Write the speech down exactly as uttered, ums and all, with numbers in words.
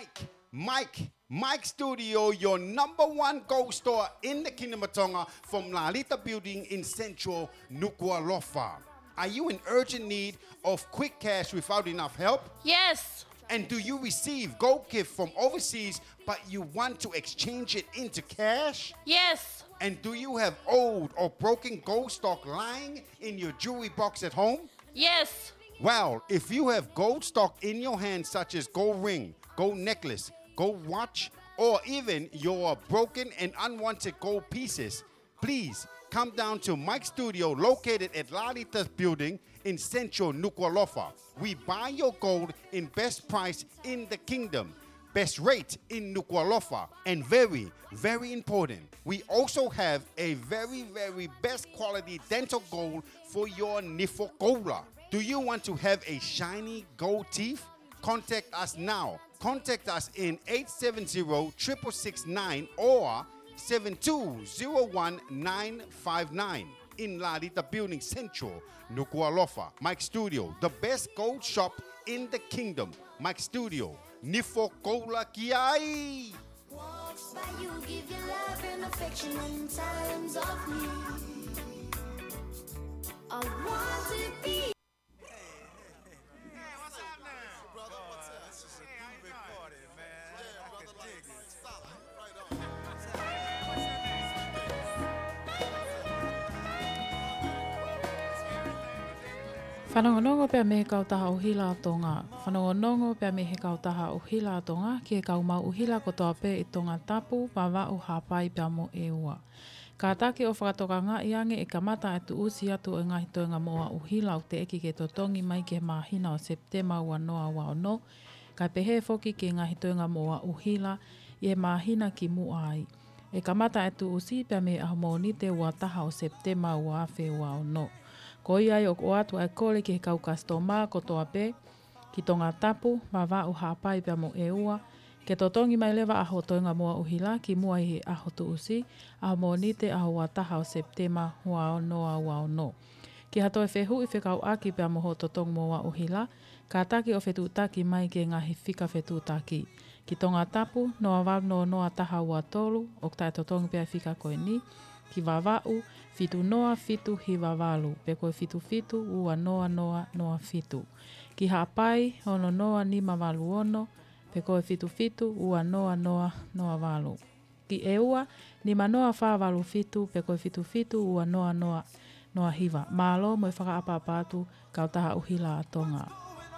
Mike, Mike, Mike Studio, your number one gold store in the Kingdom of Tonga, from Lalita Building in Central Nuku'alofa. Are you in urgent need of quick cash without enough help? Yes. And do you receive gold gift from overseas, but you want to exchange it into cash? Yes. And do you have old or broken gold stock lying in your jewelry box at home? Yes. Well, if you have gold stock in your hand, such as gold ring, gold necklace, gold watch, or even your broken and unwanted gold pieces, please come down to Mike Studio, located at Lalita Building in Central Nuku'alofa. We buy your gold in best price in the kingdom, best rate in Nuku'alofa, and very, very important, we also have a very, very best quality dental gold for your nifo koula. Do you want to have a shiny gold teeth? Contact us now. Contact us in eight seven zero, triple six nine or seven two zero one nine five nine in Lalita Building Central, Nuku'alofa. Mike Studio, the best gold shop in the kingdom. Mike Studio, nifo koula ki ai! Walks by you, give you love and affection in times of need. I want to be. Hey, what's up now? Brother, what's up? This is a groovy party, man. Yeah, I brother, can dig it. Solid. Right on. Fanongonongo pea mei he kautaha ʻuhila ʻa Tonga. Fanongonongo pea mei he kautaha ʻuhila ʻa Tonga ki he kau maʻu ʻuhila kotoa pē ʻi Tongatapu, Vavaʻu, Haʻapai pea mo ʻEua. Kātaki ʻo fakatokangaʻi ange ʻe kamata ʻa e tuʻusi atu ʻo e ngaahi toenga moʻua ʻuhila ʻoku teʻeki ke totongi mai ki he māhina ʻo Sepitema ua noa ua ono, kae pehē foki ki he ngaahi toenga moʻua ʻuhila ʻi he māhina kimuʻa ai. ʻE kamata ʻa e tuʻusi pea mei he ʻaho Mōnite ua taha ʻo Sepitema ua afe ua ono. Ko ia ai ʻoku ʻoatu ʻa e kole ki he kau kasitoma kotoa pē, ki Tongatapu, Vavaʻu, Haʻapai pea mo ʻEua, ke totongi mai leva ʻa hoʻo toenga moʻua ʻuhila kimuʻa ʻi he ʻaho tuʻusi, ʻaho Mōnite, ʻaho ua taha ʻo Sepitema ua noa ua ono. Ki ha toe fehuʻi fekauʻaki pea mo hoʻo totongi moʻua ʻuhila, kātaki ʻo fetuʻutaki mai ki he ngaahi fika fetuʻutaki. Ki Tongatapu, noa valu noa noa taha ua tolu, ʻoku taʻetotongi pē ʻa e fika ko eni. Ki Vavaʻu, fitu noa fitu hiva valu, pe ko e fitu fitu ua noa noa noa fitu. Ki Haʻapai, ono noa nima valu ono, pe ko e fitu fitu ua noa noa noa valu. Ki ʻEua, nima noa fā valu fitu, pe ko e fitu fitu ua noa noa noa hiva. Mālō mo e fakaʻapaʻapa atu, kautaha ʻuhila ʻa Tonga.